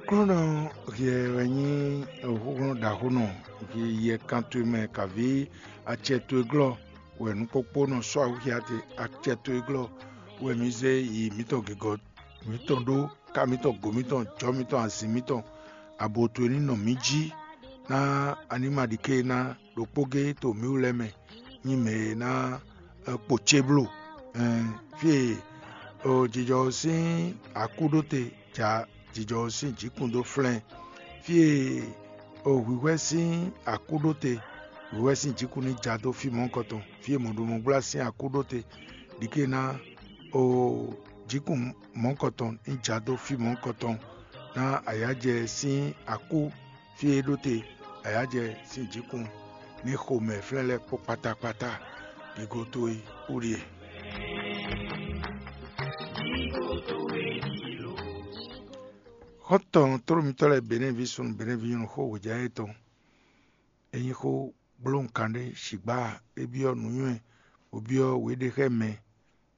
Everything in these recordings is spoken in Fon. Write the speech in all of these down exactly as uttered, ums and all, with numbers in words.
Aklúnɔ hiɛ wɛ nyí xúxlɔ́ ɖaxónɔ, yɛ kan towe mɛ kaví acɛ towe glɔ́ wɛ nǔkpókpó nɔ sɔ́ awúxia te. Acɛ towe glɔ́ wɛ mǐ zé yi mǐtɔn gěgɔ́ mǐtɔn ɖó, ká mǐtɔn, go mǐtɔn, jɔ̌ mǐtɔn, azǐn mǐtɔn, abo towe ní nɔ mǐ jí, ná a ní ma ɖi ké ná ɖokpó gé to mǐ wú lɛ́ɛ mɛ nyí mɛ e ná kpo ce bló. Fí e jijɔ sín akú ɖó te ja jijɔ sín jǐkún dó flɛ́n. Fí e hwǐhwɛ́ sín akú ɖó te, hwǐhwɛ́ sín jǐkún ní ja dó fí mɔ̌hunkɔtɔn. Fí e mɔ̌ɖomɔgbla sín akú ɖó te, ɖi ké ná jǐkún mɔ̌hunkɔtɔn ní ja dó fí mɔ̌hunkɔtɔn, ná ayǎjɛ sín akú fí e ɖó te ayǎjɛ sín jǐkún ní xomɛ flɛ́n lɛ́ɛ kpó kpátákpátá. Gǐgo towe wú ɖíe. Xɔ́ntɔn tlóló mitɔ́ lɛ́ɛ Benɛ́ɛví súnnu Benɛ́ɛví nyɔ́nu xó hwejǎ yětɔn, é nyí xó gblóhùnkan ɖé, sigbǎ é byɔ́ nǔnywɛ́, bó byɔ́ wěɖexɛ́mɛ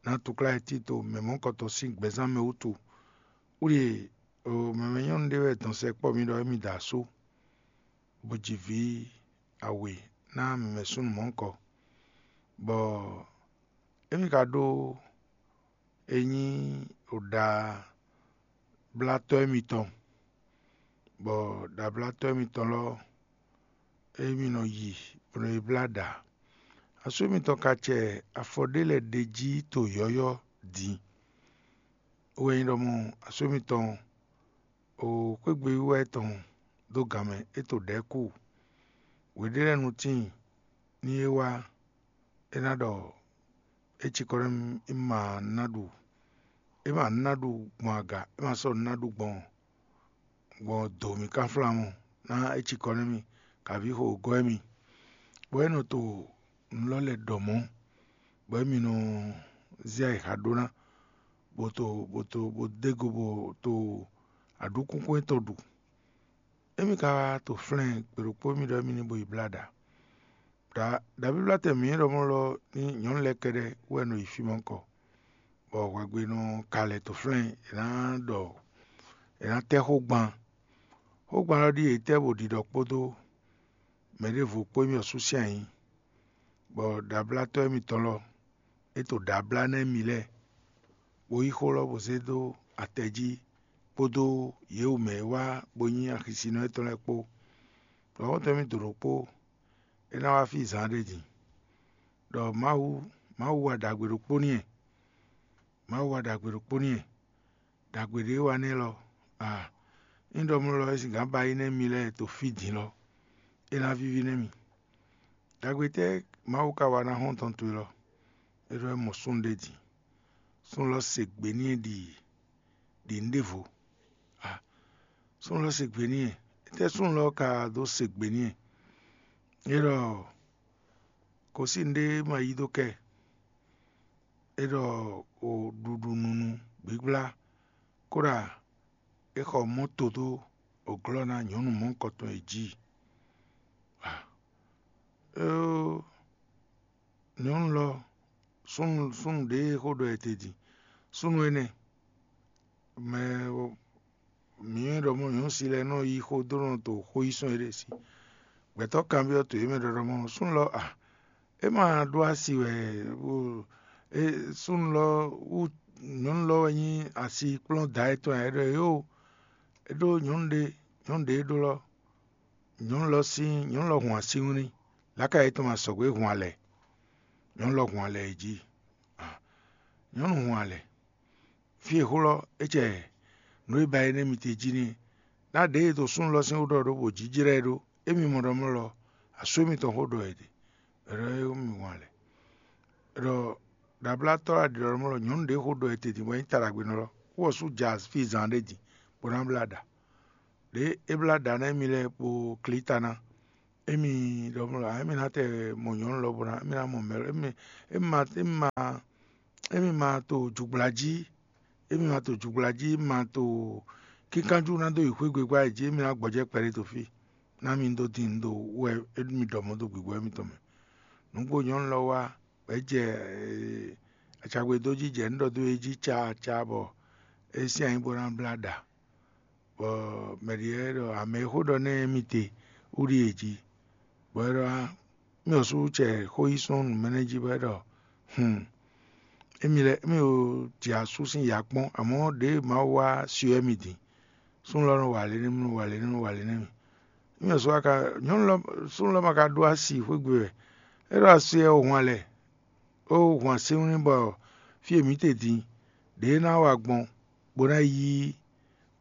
ná túkláyɛtito mɛ mɔ̌hunkɔtɔn sín gbɛzán mɛ wútu. Wlí e mɛmɛ nyɔ́nu ɖé wɛ dɔn sɛkpɔ́ mì ɖɔ émí da asú, bó ji vǐ awe ná mɛmɛ súnnu mɔ̌hunkɔ, bɔ émí ka ɖó e nyí ɖablátɔ́ émitɔn, bɔ ɖablátɔ́ émitɔn lɔ émí nɔ yi bó nɔ yi blá ɖa. Asú émitɔn ka cɛ afɔ ɖé lɛ́ɛ ɖe jí to yɔ̌yɔ́ din. É wɛ nyí ɖɔ mɔ asú émitɔn o xwégbe wíwá tɔn dó gan mɛ, é to ɖɛ̌ kú. Wěɖé lɛ́ɛ nu tíin ní é wá, é ná ɖɔ é cikɔ nú mì, é ma ná ɖu, é ma ná ɖu gbɔn aga, é ma sɔ́ ná ɖu gbɔn gbɔn dǒ mì kánflán mɔ, ná é cikɔ nú mì, kaví xo gɔ́ émí. Bɔ é nɔ to nǔ lɔ lɛ́ɛ ɖɔ mɔ̌, bɔ émí nɔ zé ayixa ɖó ná, bó to bó to bó dó go bó to aɖǔkúnkún étɔn ɖu. Émí ka wá to flɛ́n gbe ɖokpó émí ɖɔ émí ní bo yi blá ɖa. Ɖa ɖabíblátɛn mǐ e ɖɔ mɔ̌ lɔ ní nyɔ̌nu lɛ́ɛ kɛ́ɖɛ́ wɛ nɔ yi fí mɔ̌ kɔ, bɔ hwɛgbe nɔ ka lɛ́ to flɛ́n è nǎ ɖɔ è nǎ tɛ́ xó gban. Xógban ɔ́ ɖíe è tɛ́ bó ɖiɖɔ kpódó mɛ ɖěvo kpó émí ɔ́ sú sín ayǐ, bɔ ɖablátɔ́ émítɔn lɔ é to ɖablá ná émí lɛ́ɛ, bó yí xó lɔ bó zé dó atɛ jí kpódó yě wú mɛ e wá bó nyí axisinɔ étɔn lɛ́ɛ kpó. Ɖɔ̌xɔ́ntɔn émí do ɖokpó é ná wá fí zǎn ɖé din, ɖɔ Mawu Mawu wa ɖagbe ɖokpó n'i. Mawu wa ɖagbe ɖokpó n'i. Ɖagbe ɖě wa nɛ́ lɔ, a ényí ɖɔ mɔ̌ lɔ é sixá ba yi nɛ́ mi lɛ́ɛ to fí din lɔ, é ná víví nɛ́ mi. Ɖagbe tɛ́ Mawu ka wa ná xɔ́ntɔn towe lɔ? É ɖɔ é mɔ súnnu ɖé din. Súnnu lɔ se gbe n'i ɖi ɖi nǔ ɖěvo. A súnnu lɔ se gbe n'i. Étɛ́ súnnu lɔ ka dó se gbe n'i? É ɖɔ kosín ɖé ma yí dó kɛ. É ɖɔ o ɖuɖu nunu gbígbla, kóɖa é xɔ mɔ́to dó òglɔ́ ná nyɔ̌nu mɔ̌hunkɔtɔn e jí. Éó, nyɔ̌nu lɔ súnnu súnnu ɖě e xó ɖɔ e te din. Súnnu énɛ́ mɛ mǐ nyɔ́ ɖɔ mɔ̌ nyɔ̌nu si lɛ́ɛ nɔ yí xó dó nɔ to xó yí sɔ́ éɖée sí. Gbɛ̌tɔ́ kanbyɔ́ to yě mɛ ɖɔ ɖɔ mɔ̌ súnnu lɔ a é ma ɖó asi wɛ, súnnu lɔ wú nyɔ̌nu lɔ wɛ nyí asi kplɔ́n da étɔn ǎ. É ɖɔ yó, é ɖó nyɔ̌nu ɖé nyɔ̌nu ɖě é ɖó lɔ nyɔ̌nu lɔ sín nyɔ̌nu lɔ hun así nú ní. Lǎka yětɔn ma sɔgbe hun alɛ. Nyɔ̌nu lɔ hun alɛ yi jí. Nyɔ̌nu hun alɛ. Fí e xó lɔ é cɛ nǔ e ba é nɛ́ mi te jí n'i. Ná ɖě e to súnnu lɔ sín xó ɖɔ ɖó bó jínjlɛ́ ɛ ɖó. Émi mɔ ɖɔ mɔ̌ lɔ, asú émitɔn xó ɖɔ è ɖe. È ɖɔ é mi hun alɛ. È ɖɔ ɖablátɔ́ aɖǐɖɔ́mɔ lɔ nyɔ̌nu ɖě xó ɖɔ è te din bɔ é nyí ta ɖagbenɔ lɔ, xó ɔ́ sú ja fí zan ɖé din, bó ná blá ɖa. Ɖě é blá ɖa ná émi lɛ́ɛ kpo klí ta ná. Émi ɖɔ mɔ̌ lɔ, émi ná tɛ mɔ nyɔ̌nu lɔ bó ná émi ná mɔ mɛ lɔ, émi émi ma émi ma émi ma to jǔgbla jí, émi ma to jǔgbla jí, émi ma to kínkanjú ná dó yi xwé gbegba jí, émi ná gbɔjɛ́ kpɛɖé to fí. Ná mi dó din dó wɛ émi ɖɔ mɔ̌ dó gbǐgbɔ́ émitɔn mɛ. Nǔgbó nyɔ̌nu lɔ wá, bɔ é jɛ acagbedó jí jɛ nǔ ɖɔ dó é jí caa caa bɔ é sín anyí bó ná blá ɖa. bɔ mɛ ɖě lɛ́ɛ ɖɔ: "Amɛ e xó ɖɔ nɛ́ émí te wú ɖíe jí." Bɔ é ɖɔ: "Á, mì ɔ́ sú cɛ xó yí sɔ́ nǔ mɛ nɛ́ jí?" Bɔ é ɖɔ: "Hun, émí lɛ́ɛ émí o jɛ asú sín ya kpɔ́n, amɔ̌ ɖěe Mawu wá syɔ émí din. Súnnu lɔ nɔ wa lě nɛ́ mì, nɔ wa lě nɛ́ mì, nɔ wa lě nɛ́ mì. Émí ɔ́ sú wá ka nyɔ̌nu lɔ súnnu lɔ ma ka ɖó asi xwé gbe wɛ. É ɖo asi ɔ́ hwan lɛ, ó hwan sínwlín bɔ fí e mǐ te din ɖě ná wa gbɔn, bó ná yí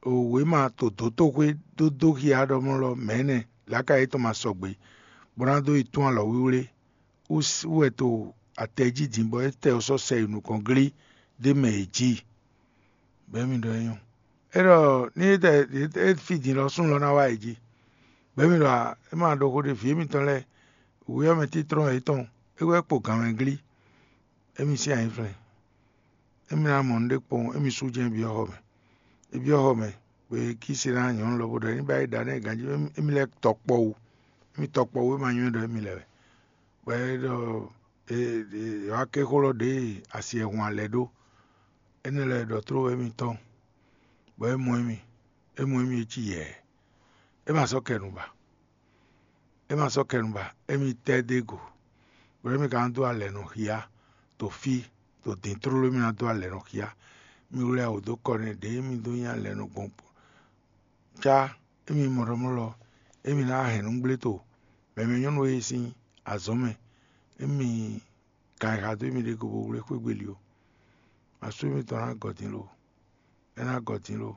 wěma to dǒtoxwé dó dó xia ɖɔmlɔ́ mɛ̌nɛ lǎka yětɔn ma sɔgbe, bó ná dó yi tún alɔ wíwlé wú wɛ to atɛ jí din, bɔ é tɛ ɔ́ sɔ́ sɛ yi nukɔn glí dó mɛ yě jí." Bɛ̌ mi ɖɔ é nyɔ́. É ɖɔ ní é tɛ é fí din lɔ súnnu lɔ ná wá yě jí. Bɛ̌ mi ɖɔ é ma ɖo xó ɖé vǐ émítɔn lɛ́ɛ, wǔyɔ́mɛ títrɔ́n yětɔn é wɛ kpo gǎn mɛ glí. Émí sín anyǐflɛ́n. Émí ná mɔ nǔɖé kpowun, émí sú jɛ́n byɔ́ xɔ mɛ. É byɔ́ xɔ mɛ, bó yi kí se ná nyɔ̌nu lɔ bó ɖɔ: "Ní ba yi ɖa nɛ́ ganjí émí lɛ́ɛ tɔkpɔwú. Émí tɔkpɔwú é ma nywɛ́ ɖɔ émí lɛ́ɛ wɛ." Bɔ é ɖɔ: "Wǎ ké xó lɔ ɖě asi e hun alɛ ɖó." Énɛ́ lɛ́ɛ ɖɔ tló wɛ émítɔn, bɔ é mɔ émí, é mɔ émí é cí yɛ̌ɛ. É ma sɔ́ kɛ nu ba. É ma sɔ́ kɛ nu ba, émí tɛ́ dó e go, bɔ émí ka ná dó alɛ nɔ xia to fí, to dǐn tlóló émí ná dó alɛ nɔ xia. Mí wlɛ́ wǔ dó kɔ nɛ́ ɖěe mí dó nyí alɛ nɔ gbɔn cá émí mɔɖɔmɔ́lɔ, émí ná hɛn nǔgbléto mɛmɛ nyɔ́nu e sín azɔ̌ mɛ, émí ka yi xa dó émí ɖě go bó wlé xwé gbe li ó. Asú émítɔn ná gɔ din lo, é ná gɔ din lo,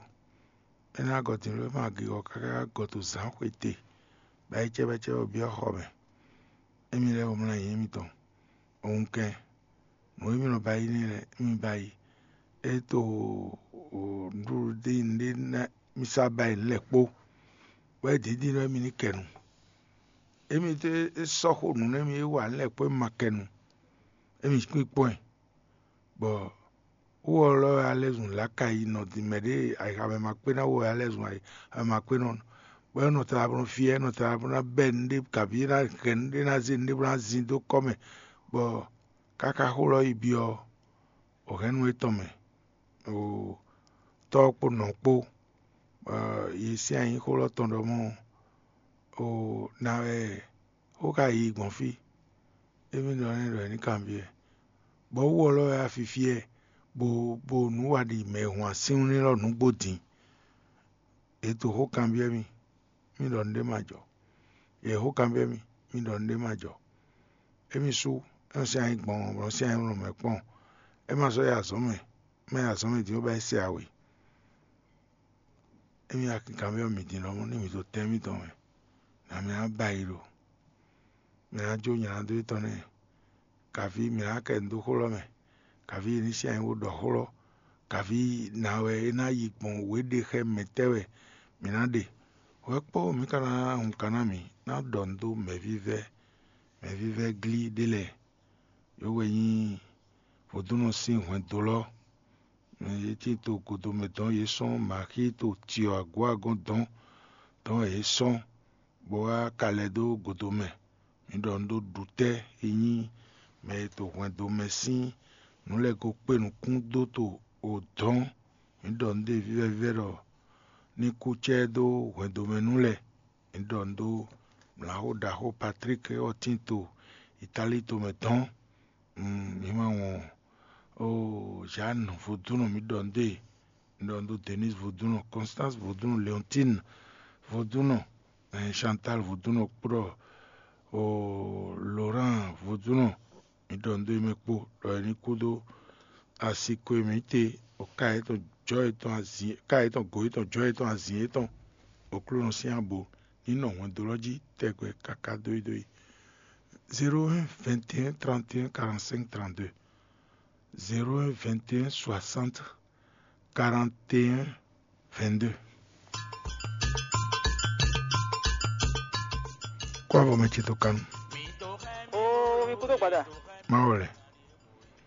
é ná gɔ din lo, é ma gigɔ káká gɔ to zǎn xwete, bɔ ayicɛ́bɛ́cɛ́ ɔ́ byɔ́ xɔ mɛ. Émí lɛ́ɛ wɛ mlá nyǐ émítɔn. Wunkɛn, nǔ e mì nɔ ba yí n'i lɛ́ɛ, mì ba yí. É to nǔɖuɖu ɖé nǔɖé ná mì sá ba yí nǔ lɛ́ɛ kpó, bɔ é dǐndín nú émí ní kɛ nu. Émí é sɔ́ xó nǔ nú émí é wa nǔ lɛ́ɛ kpó é ma kɛ nu. Émí kpínkpɔ́n ɛ, bɔ wú ɔ́ lɔ wɛ alɛzun lǎka yi nɔ din mɛ ɖě ayixa mɛ ma kpé ná wú ɔ́ alɛzun ayixa mɛ ma kpé nɔ, bɔ é nɔ tlabɔ nɔ fyɛ́, é nɔ tlabɔ ná bɛ́ nǔɖé kabǐ é ná hɛn nǔɖé ná zé nǔɖé bó ná zin dó kɔ́ mɛ, bɔ káká xó lɔ yi byɔ́ wǒhɛ́nnu étɔn mɛ, o tɔ́ ɔ́ kpó nɔ ɔ́ kpó, bɔ yě sín anyǐxó lɔ tɔn ɖɔ mɔ̌, o ná wɛ xó ka yi gbɔn fí. Émí ɖɔ nɛ́ ɖɔ è ní kanbyɔ́ ɛ, bɔ wú ɔ́ lɔ wɛ afifí ɛ, bo bo nǔ wa ɖi mɛ e hun asínwlín lɔ nǔgbó din. È to xó kanbyɔ́ mì, mì ɖɔ nǔɖé ma jɔ. È xó kanbyɔ́ mì, mì ɖɔ nǔɖé ma jɔ. Émí sú, é nɔ sín anyí gbɔn, bɔ nɔ sín anyí nɔ mɛ kpɔ́n. É ma sɔ́ yi azɔ̌ mɛ, má yi azɔ̌ mɛ din ó ba yi se awe. Émí wá kanbyɔ́ mì din lɔmɔ̌ nú mì ɖo tɛn émítɔn mɛ, nǎ mì ná ba yi ɖo. Mì ná jó nyɛ ná dó étɔn nɛ́, kaví mì ná kɛ nu dó xó lɔ mɛ, kaví é ní sín anyí bó ɖɔ xó lɔ, kaví ná wɛ é ná yi gbɔn wě ɖe xɛ mɛ tɛ́ wɛ mǐ ná ɖe. Hwɛ kpɔ́ mǐ ka ná hun ka ná mì ná ɖɔ nǔ dó mɛ̌vívɛ́, mɛ̌vívɛ́ glí ɖé lɛ́ɛ. Yǒwe nyí vodúnnɔ sín hwɛndo lɔ. Yě tín to godomɛ dɔn yě sɔ́ Maxíto cyɔ agǒ agɔ́n dɔn dɔn yě sɔ́, bó wá ka lɛ́ dó godomɛ. Mǐ ɖɔ un ɖó ɖutɛ́ e nyí mɛ e to hwɛndo mɛ sín nǔ lɛ́ɛ ko kpé nukún dó to o dɔn. Mǐ ɖɔ un ɖe vívɛ́ vívɛ́ ɖɔ ní kú cɛ́ dó hwɛndo mɛ nú lɛ́ɛ. Mǐ ɖɔ un ɖó mlǎxó ɖaxó Patlík ɔ́ tín to Itáli tomɛ dɔn. Mǐ ma wɔn ó, Jeanne vodúnnɔ mǐ ɖɔ un ɖe, mǐ ɖɔ un ɖó Denise vodúnnɔ, Constance vodúnnɔ, Léontine vodúnnɔ, Chantal vodúnnɔ kpóɖɔ Laurent vodúnnɔ. Mǐ ɖɔ un ɖó émí kpó ɖɔ é ní kú dó asi ko e mǐ te, ká yětɔn jɔ yětɔn azǐn, ká yětɔn go yětɔn jɔ yětɔn azǐn yětɔn, Aklúnɔ sín abo ní nɔ hwɛndo lɔ jí tɛgbɛ káká dóyídóyí. Zéro un vingt et un trente et un quarante-cinq trente-deux. Zéro un vingt et un soixante quarante et un vingt-deux. Kó avɔ mɛ ce tó kanu. Oo, mi kúdó gbada. Má wɔ lɛ.